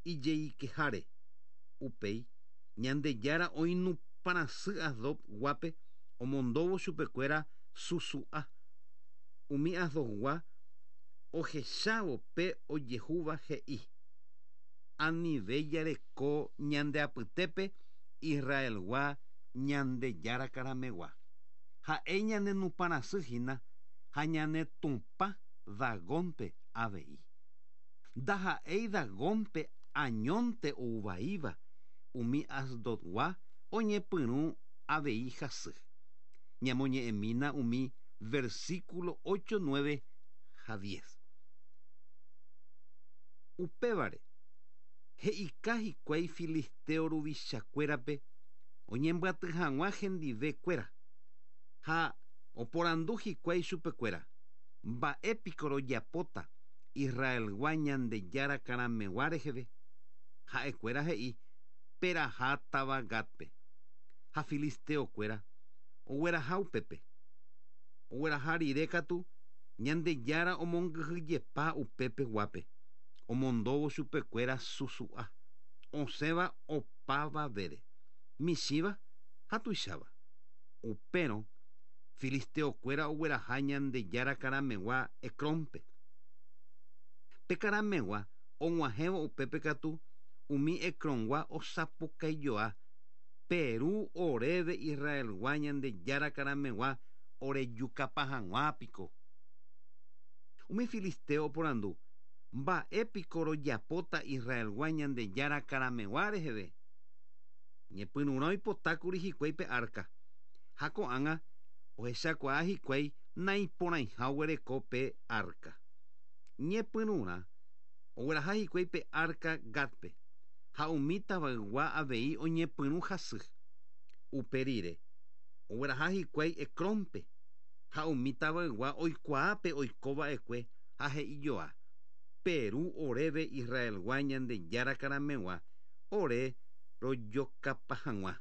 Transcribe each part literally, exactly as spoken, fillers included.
ijeikeháre. Upéi Ñandejára oinupãrasy Asdodguápe omondóvo chupekuéra susu'a. Umi Asdodgua ohechávo pe ojehúva he'i: Anive jareko ñande apytépe Israelgua Ñandejára karamegua. Ha'e ñanenupãrasy hína ha ñanetupã Dagónpe avei. Ndaha'éi Dagónpe añónte ouvaíva umi Asdodgua oñepyrũ avei hasy. Ñamoñe'ẽmína umi versículo ocho, nueve ha diez. Upévare he'ika hikuái filisteo ruvichakuérape oñembyaty hag̃ua hendivekuéra ha oporandu hikuái chupekuéra: Mba'épiko rojapóta Israelgua Ñandejára karamegua reheve. Ha'ekuéra he'i: Peraha táva Gatpe. Ha filisteokuéra ogueraha upépe. Ogueraha rire katu Ñandejára omongyhyjepa upépe guápe. Omondóvo chupekuéra susu'a osẽva opavavére, michĩva ha tuicháva. Upérõ filisteokuéra ogueraha Ñandejára karamegua Ecrónpe. Pe karamegua og̃uahẽvo upépe katu umi Ecrongua osapukaijoa: Peru oréve Israelgua Ñandejára karamegua orejukapa hag̃ua piko. Umi filisteo oporandu: Mba'épiko rojapóta Israelgua Ñandejára karamegua reheve. Ñepyrũrã oipotákuri hikuái pe arca. Ha ko'ág̃a ohechakuaa hikuái naiporãiha oguereko pe arca. Ñepyrũrã ogueraha hikuái pe arca Gatpe ha umi tavaygua avei oñepyrũ hasy. Upe rire ogueraha hikuái Ecrónpe ha umi tavaygua oikuaápe oikova'ekue ha he'ijoa: Peru oréve Israelgua Ñandejára karamegua ore rojokapa hag̃ua.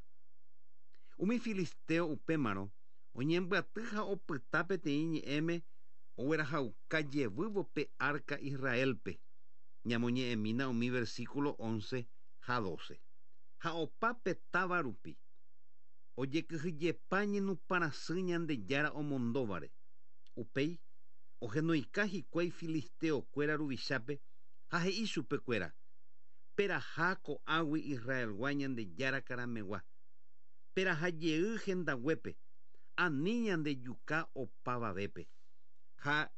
Umi filisteo upémarõ oñembyaty ha opyta peteĩ ñe'ẽme oguerahauka jevývo pe arca Israelpe. Ñamoñe'ẽmína umi versículo once ha doce. Ha opa pe táva rupi ojekyhyjepa ñenupãrasy Ñandejára omondóvare. Upéi ohenoika hikuái filisteokuéra ruvichápe ha he'i chupekuéra: Peraha ko'águi Israelgua Ñandejára karamegua. Peraha jey hendaguépe ani ñandejuka opavavépe. Ha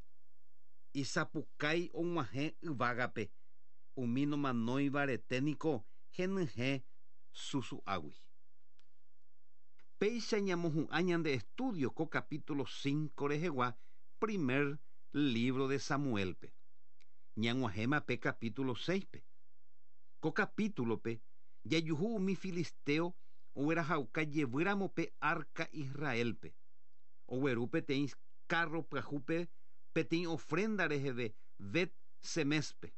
isapukái og̃uahẽ yvágape umi nomanóiva rete niko henyhẽ susu'águi. Péicha ñamohu'ã ñande estudio ko capítulo cinco rehegua primer libro de Samuelpe. Ñag̃uahẽma pe capítulo seispe. Ko capítulope jajuhu umi filisteo oguerahauka jevýramo pe arca Israelpe. Ogueru peteĩ carro pyahúpe peteĩ ofrenda reheve Bet Semespe.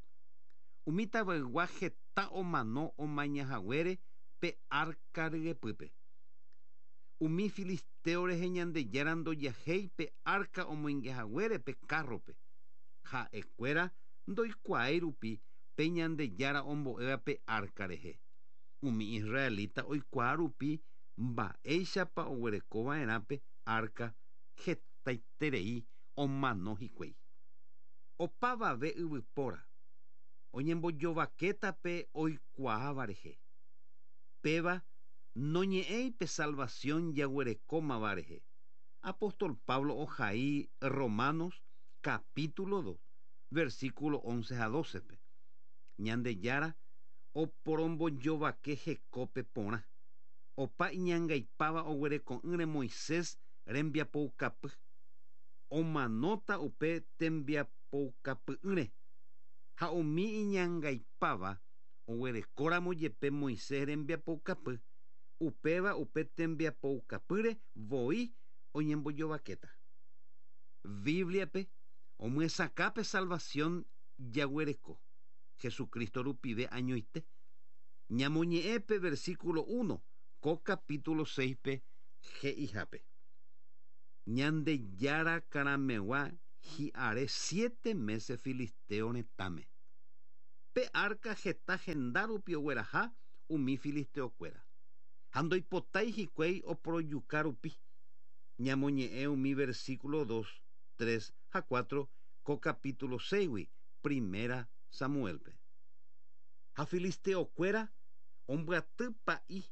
Umi tavaygua heta omano omañahaguére pe arca ryepýpe. Umi filisteo rehe Ñandejára ndojahéi pe arca omoingehaguére pe carrope. Ha'ekuéra ndoikuaái rupi pe Ñandejára ombo'éva pe arca rehe. Umi israelita oikuaa rupi mba'éichapa oguerekova'erã pe arca hetaiterei omano hikuái. Opavave yvypóra oñembojovakéta pe oikuaáva rehe. Péva noñe'ẽi pe salvación jaguerekómava rehe. Apóstol Pablo ohai Romanos capítulo dos, versículo once a doce-pe. Ñandejára oporombojovake hekópe porã. Opa iñangaipáva oguereko'ỹre Moisés rembiapoukapy. Omanóta upe tembiapoukapy'ỹre. Ha umi iñangaipáva oguerekóramo jepe Moisés rembiapoukapy, upéva upe tembiapoukapýre voi oñembojovakéta. Bíbliape omyesakã pe salvación jaguereko Jesucristo rupive añoite. Ñamoñe'ẽpe versículo uno ko capítulo seispe he'ihápe: Ñandejára karamegua hi'are siete meses filisteo retãme. Pe arca heta henda rupi ogueraha umi filisteokuéra. Ha ndoipotái hikuái oporojuka rupi. Ñamoñe'ẽ umi versículo dos, tres ha cuatro ko capítulo seis primera Samuelpe. Ha filisteokuéra ombyaty pa'i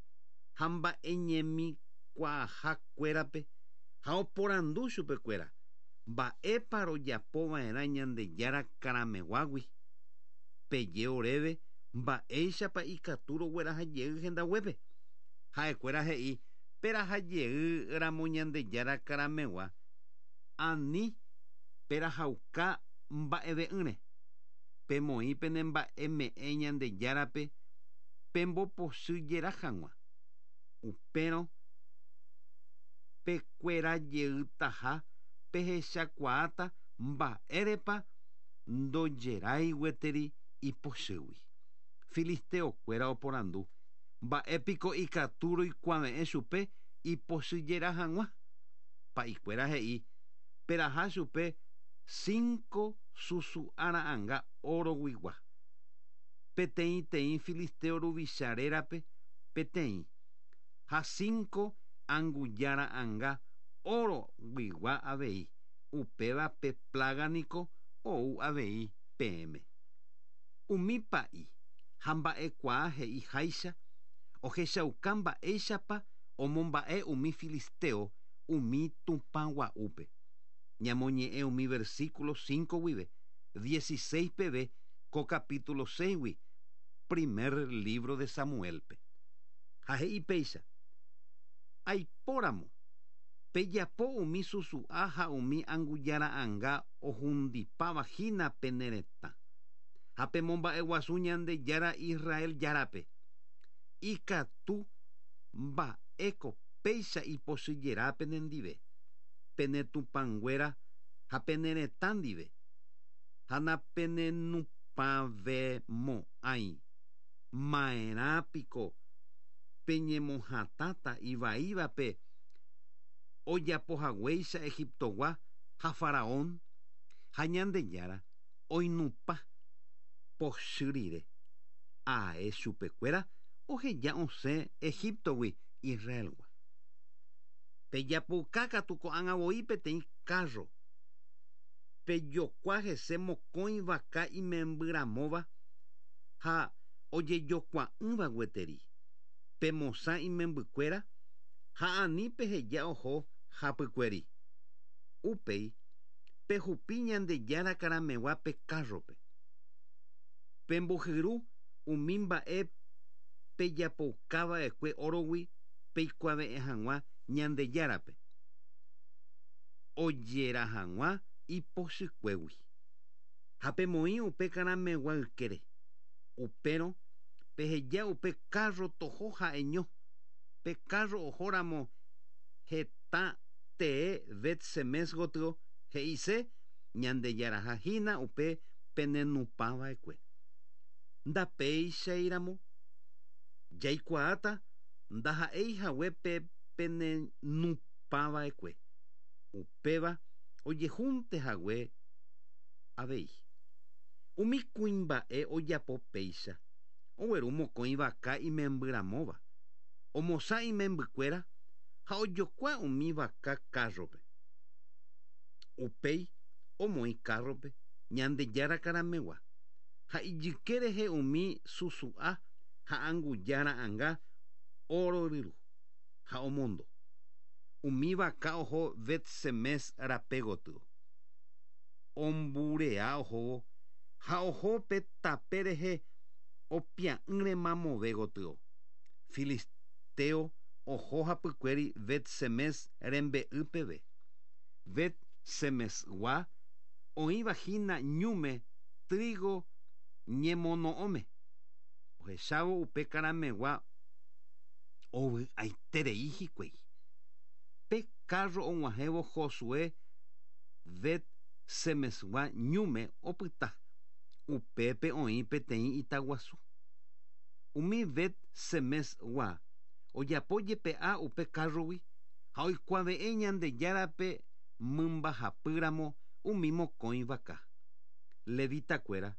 ha mba'eñemikuaahakuérape ha oporandu chupekuéra mba'épa rojapova'erã Ñandejára karameguágui. Peje oréve mba'éichapa ikatu rogueraha jey hendaguépe. Ha'ekuéra he'i peraha jey ramo Ñandejára karamegua ani perahauka mba'eve'ỹre. Pemoĩ pene mba'eme'ẽ Ñandejárape pembopochy jera hag̃ua. Upérõ pekuera jeytaha pehechakuaáta mba'érepa ndojerái gueteri ipochýgui. Filisteokuéra oporandu mba'épiko ikatu roikuave'ẽ chupe ipochy jera hag̃ua. Pa'ikuéra he'i peraha chupe cinco susu'ara'ãnga oroguigua. Peteĩteĩ filisteo ruvicha rérape peteĩ ha cinco angujara'ãnga oroguigua avei. Upéva pe plaga niko ou avei peẽme. Umi pa'i ha mba'ekuaa he'iháicha ohechauka mba'éichapa omomba'e umi filisteo umi tupãgua'úpe. Ñamoñe'ẽ umi versículo cinco guive dieciséis peve ko capítulo seis primer libro de Samuelpe. Ha he'i péicha aipóramo pejapo umi susu'a ha umi angujara'ãnga ohundipáva hína pene retã. Ha pemomba'eguasu Ñandejára Israel járape. Ikatu mba'éko péicha ipochyjera penendive, pene tupãnguéra ha pene retã ndive. Ha napenenupãvemo'ãi. Ma'erãpiko peñemohatãta ivaívape ojapohaguéicha Egiptogua ha Faraón ha Ñandejára oinupã pochy rire. Ae chupekuéra oheja osẽ Egiptogui Israelgua. Pejapoka katu ko'ág̃a voi peteĩ carro. Pejokua hese mokõi vaka imembyramóva ha ojejokua'ỹva gueteri. Pemosã imembykuéra ha ani peheja oho hapykuéri. Upéi pehupi Ñandejára karamegua pe carrope. Pembohyru umi mba'e pejapokava'ekue orogui peikuave'ẽ hag̃ua Ñandejárape. Ojera hag̃ua ipochykuégui. Ha pemoĩ upe karamegua ykére. Upérõ peheja upe carro toho ha'eño. Pe carro ohóramo heta tee Bet-Semes gotyo he'ise Ñandejaraha hína upe penenupãva'ekue. Ndapéichairamo jaikuaáta ndaha'éi hague pe penenupãva'ekue. Upéva ojehúnte hague avei. Umi kuimba'e ojapo péicha ogueru mokõi vaka imembyramóva. Omosã imembykuéra ha ojokua umi vaka carrope. Upéi omoĩ carrope Ñandejára karamegua. Ha ijyke rehe umi susu'a ha angujara'ãnga oro ryru ha omondo. Umi vaka oho Bet-Semes rape gotyo. Omburea ohóvo ha oho pe tape rehe opia'ỹre mamove gotyo. Filisteo oho hapykuéri Bet-Semes rembe'y peve. Bet-Semesgua oĩva hína ñúme trigo ñemono'õme. Ohechávo upe karamegua ovy'aiterei hikuái. Pe carro og̃uahẽvo Josué Bet-Semesgua ñúme opyta. Upépe oĩ peteĩ itaguasu. Umi Bet-Semesgua ojapo jepe'a upe carrogui ha oikuave'ẽ Ñandejárape mymbahapýramo umi mokõi vaka. Levitakuéra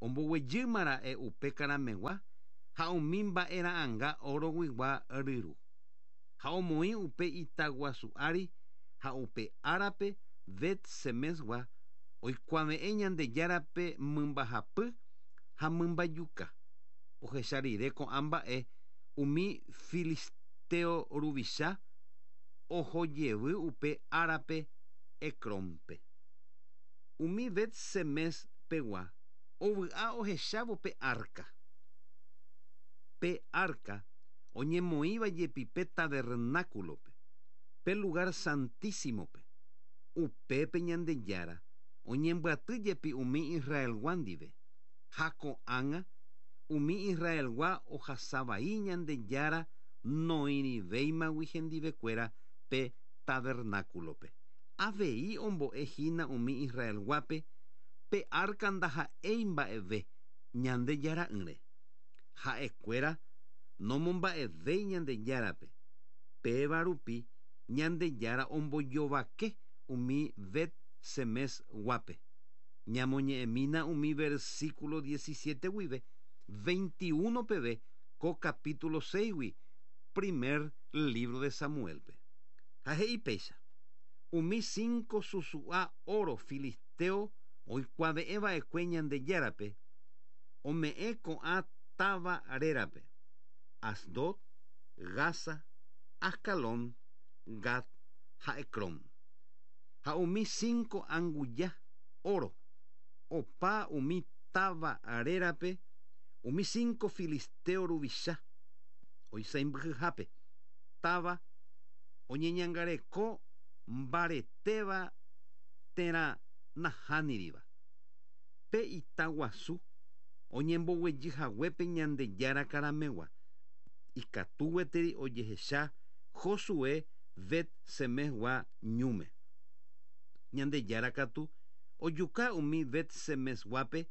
Omboguejýmara'e upe karameg̃ua ha umi mba'era'ãnga oroguigua ryru. Ha omoĩ upe itaguasu ári ha upe árape Bet-semesgua oikuave'ẽ Ñandejárape mymbahapy ha mymbajuka. Ohecha rire ko'ã mba'e umi filisteo ruvicha ohojevy upe árape Ecrónpe. Umi Bet-semes pegua ovy'a ohechávo pe arca. Pe arca oñemoĩva jepi pe tabernáculope, pe lugar santísimope. Upépe Ñandejára oñembyaty jepi umi Israelgua ndive. Ha ko'ág̃a umi Israelgua ohasavai Ñandejára noĩrivéimagui hendivekuéra pe tabernáculope. Avei ombo'ehína umi Israelguápe pe arca ndaha'éi mba'eve Ñandejara'ỹre. Ha'ekuéra nomomba'evéi Ñandejárape. Péva rupi Ñandejára ombojovake umi Bet-semesguápe. Ñamoñe'ẽmína umi versículo diecisiete guive veintiuno peve ko capítulo seis-gui primer libro de Samuelpe. Ha he'i péicha. Umi cinco susu'a oro filisteo oikuave'ẽva'ekue Ñandejárape ome'ẽ ko'ã táva rérape: Asdod, Gaza, Ascalón, Gat ha Ecrón. Ha umi cinco anguja oro opa umi táva rérape umi cinco filisteo ruvicha oisãmbyhyhápe táva oñeñangareko mbaretéva térã nahániriva. Pe itaguasu oñemboguejyhaguépe Ñandejára karameg̃ua ikatu gueteri ojehecha Josué Bet-semesgua ñúme. Ñandejára katu ojuka umi Bet-semesguápe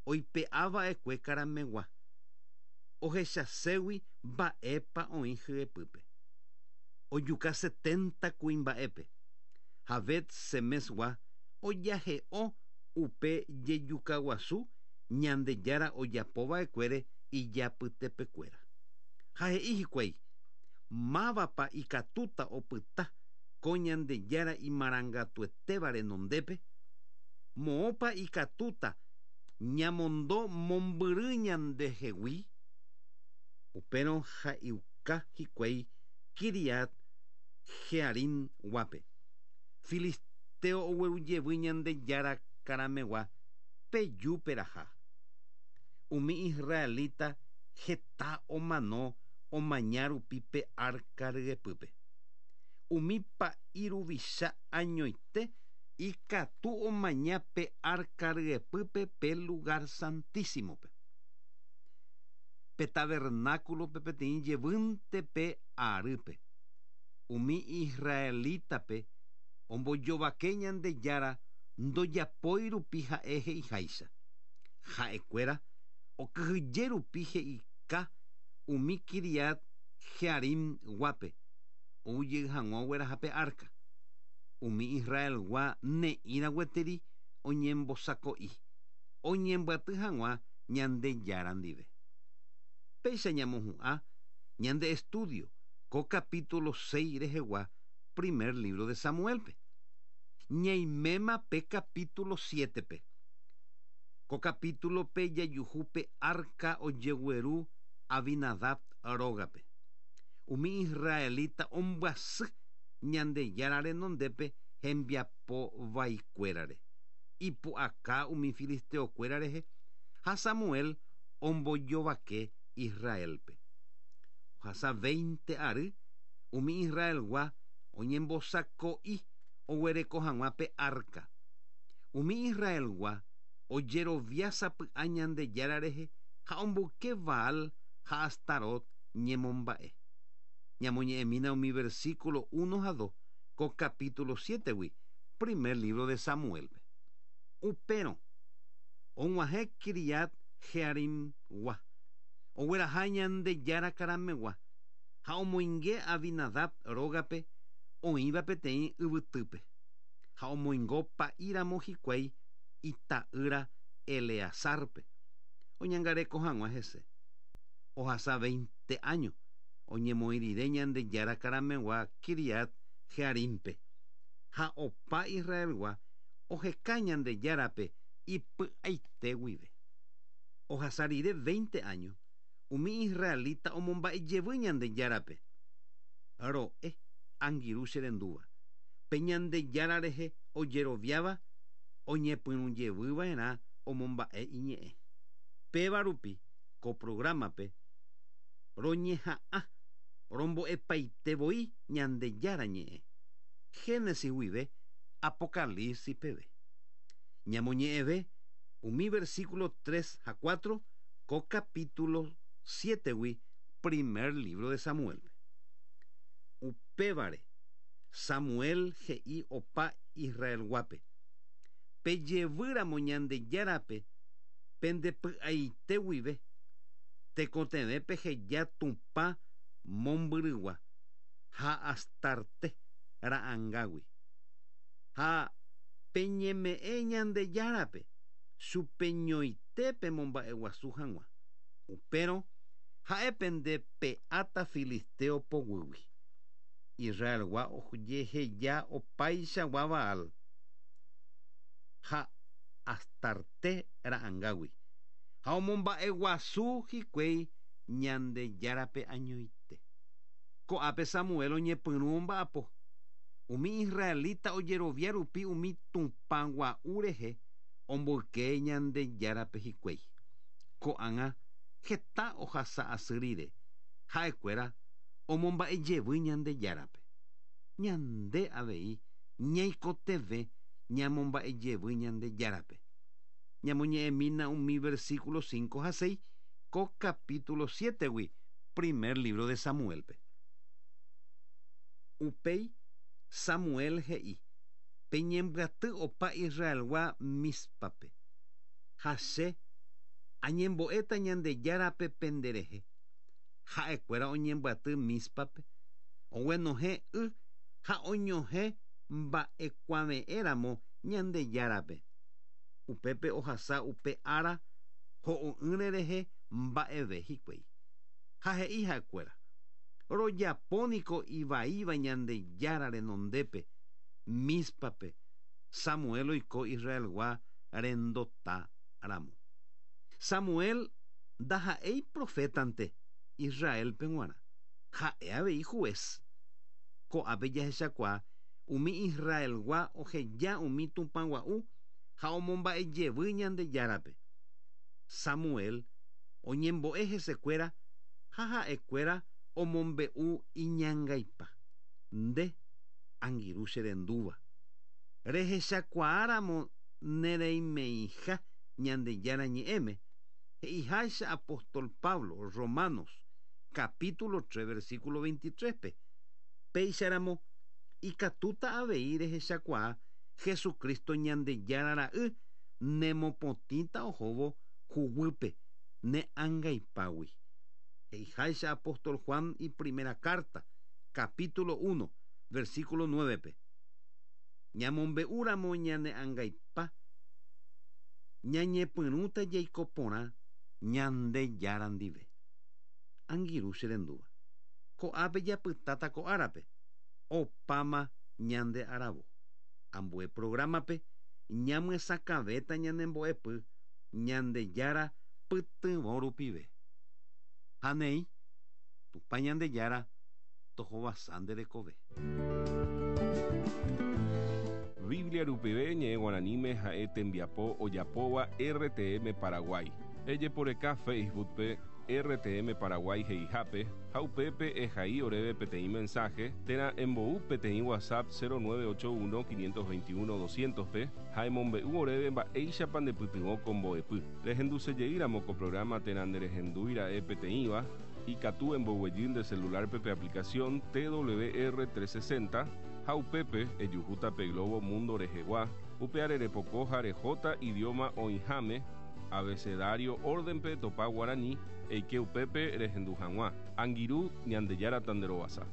oipe'ava'ekue karameg̃ua ohechaségui mba'épa oĩ hyepýpe. Ojuka setenta kuimba'épe ha Bet-semesgua ojahe'o upe jejukaguasu Ñandejára ojapova'ekuére ijapytepekuéra. Ha he'i hikuái mávapa ikatúta opyta ko Ñandejára imarangatuetéva renondépe, moõpa ikatúta ñamondo mombyry ñandehegui. Upérõ ha'euka hikuái Kiriat Jearim guápe. Filisteo oguerujevy Ñandejára karameg̃ua peju peraha. Umi israelita heta omano omaña rupi pe arca ryepýpe. Umi pa'i ruvicha añoite ikatu omaña pe arca ryepýpe pe lugar santísimope. Pe tabernáculope peteĩ jevýnte pe arýpe. Umi israelitape ombojovake Ñandejára ndojapói rupi ha'e he'iháicha. Ha'ekuéra okyhyje rupi he'ika umi Kiriat Jearim guápe oujey hag̃ua ogueraha pe arca. Umi Israelgua ne'ĩra gueteri oñembosako'i oñembyaty hag̃ua Ñandejára ndive. Péicha ñamohu'ã ñande estudio ko capítulo seis rehegua primer libro de Samuelpe. Ñaiméma pe capítulo siete-pe. Ko capítulo-pe jajuhu pe arca ojegueru Abinadab rógape. Umi israelita ombyasy Ñandejára renondépe hembiapo vaikuérare. Ipu'aka umi filisteokuéra rehe ha Samuel ombojovake Israelpe. Ohasa veinte ary umi Israelgua oñembosako'i oguereko hag̃ua pe arca. Umi Israelgua ojerovia sapy'a Ñandejára rehe ha omboyke Baal ha Astarot ñemomba'e. Ñamoñe'ẽmína umi versículo uno ha dos ko capítulo siete-gui primer libro de Samuelpe. Upérõ og̃uahẽ Kiriat Jearimgua ogueraha Ñandejára karameg̃ua ha omoinge Abinadab rógape oĩva peteĩ yvytýpe ha omoingo pa'íramo hikuái ita'ýra Eleazarpe. oñangareko hag̃ua hese. Ohasa veinte años oñemoĩ rire Ñandejára karamegua Kiriat Jearimpe. Ha opa Israelgua oheka Ñandejárape ipy'aite guive. Ohasa rire veinte años umi israelita omomba'ejevy Ñandejárape. Ro'e angirũ che rendúva. Pe Ñandejára rehe ojeroviáva oñepyrũjevyva'erã omomba'e iñe'ẽ. Péva rupi ko programape roñeha'ã rombo'epaitevoi Ñandejára ñe'ẽ. Génesis guive Apocalipsis peve. Ñamoñe'ẽve umi versículo tres ha cuatro ko capítulo siete gui primer libro de Samuel. Upévare Samuel he'i opa Israelguápe. Pejevýramo Ñandejárape pendepy'aite guive tekotevẽ peheja Tupã mombyrygua ha Astarte ra'ãngagui. Ha peñeme'ẽ Ñandejárape chupeñoite pemomba'eguasu hag̃ua. Upérõ ha'e pendepe'áta filisteo poguýgui. Israelgua ojeheja opaichagua Baal ha Astarte ra'ãngagui. Ha omomba'eguasu hikuái Ñandejárape añoite. Ko'ápe Samuel oñepyrũ omba'apo. Umi israelita ojerovia rupi umi Tupã gua'u rehe omboyke Ñandejárape hikuái. Ko'ág̃a heta ohasa asy rire ha'ekuéra omomba'ejevy Ñandejárape. Ñande avei ñaikotevẽ ñamomba'ejevy Ñandejárape. Ñamoñe'ẽmína umi versículo cinco ha seis ko capítulo siete gui primer libro de Samuelpe. Upéi Samuel he'i peñembyaty opa Israelgua Mispape. Ha che añembo'éta Ñandejárape penderehe. Ha'ekuéra oñembyaty Mispape oguenohẽ y ha oñohẽ mba'ekuave'ẽramo Ñandejárape. Upépe ohasa upe ára ho'o'ỹre rehe mba'eve hikuái. Ha he'i ha'ekuéra rojapóniko ivaíva Ñandejára renondépe Mispape Samuel oiko Israelgua rendota ramo. Samuel ndaha'éi profetante Israelpe g̃uarã. Ha'e avei juez. Ko'ápe jahechakuaa umi Israelgua oheja umi Tupã gua'u ha omomba'ejevy Ñandejárape. Samuel oñembo'e hesekuéra ha ha'ekuéra omombe'u iñangaipa. Nde angirũ che rendúva. Rehechakuaáramo nereimeíha Ñandejára ñe'ẽme he'iháicha apóstol Pablo Romanos capítulo tres versículo veintitrés pe. Péicharamo ikatúta avei rehechakuaa Jesucristo Ñandejára ra'y nemopotĩta ohóvo huguýpe ne angaipágui. He'iháicha apóstol Juan y primera carta capítulo uno versículo nueve pe. Ñamombe'úramo ñane angaipa ñañepyrũta jaiko porã Ñandejára ndive. Angirũ che rendúva. Ko'ápe japytáta ko árape. Opáma ñande aravo. Ambue programape ñamyesakãvéta ñanembo'epy Ñandejára pytyvõ rupive. Ha néi Tupã Ñandejára tohovasa nde rekove. Biblia rupive ñe'ẽ guaraníme ha'e tembiapo ojapóva R T M Paraguay. Ejeporeka Facebook pe R T M Paraguay he'ihápe ha upépe ehai oréve peteĩ mensaje térã embou peteĩ WhatsApp cero nueve ocho uno quinientos veintiuno doscientos pe ha emombe'u oréve mba'éichapa ndepytyvõ ko mbo'epy. Rehendusejeýramo ko programa térã nderehendúira'e peteĩva ikatu emboguejy nde celular pe aplicación T W R trescientos sesenta ha upépe ejuhúta pe Globo Mundo rehegua upe arerepoko ha rehóta idioma oĩháme abecedario órdenpe topa guaraní eike upépe rehendu hag̃ua. Angirũ Ñandejára tanderovasa.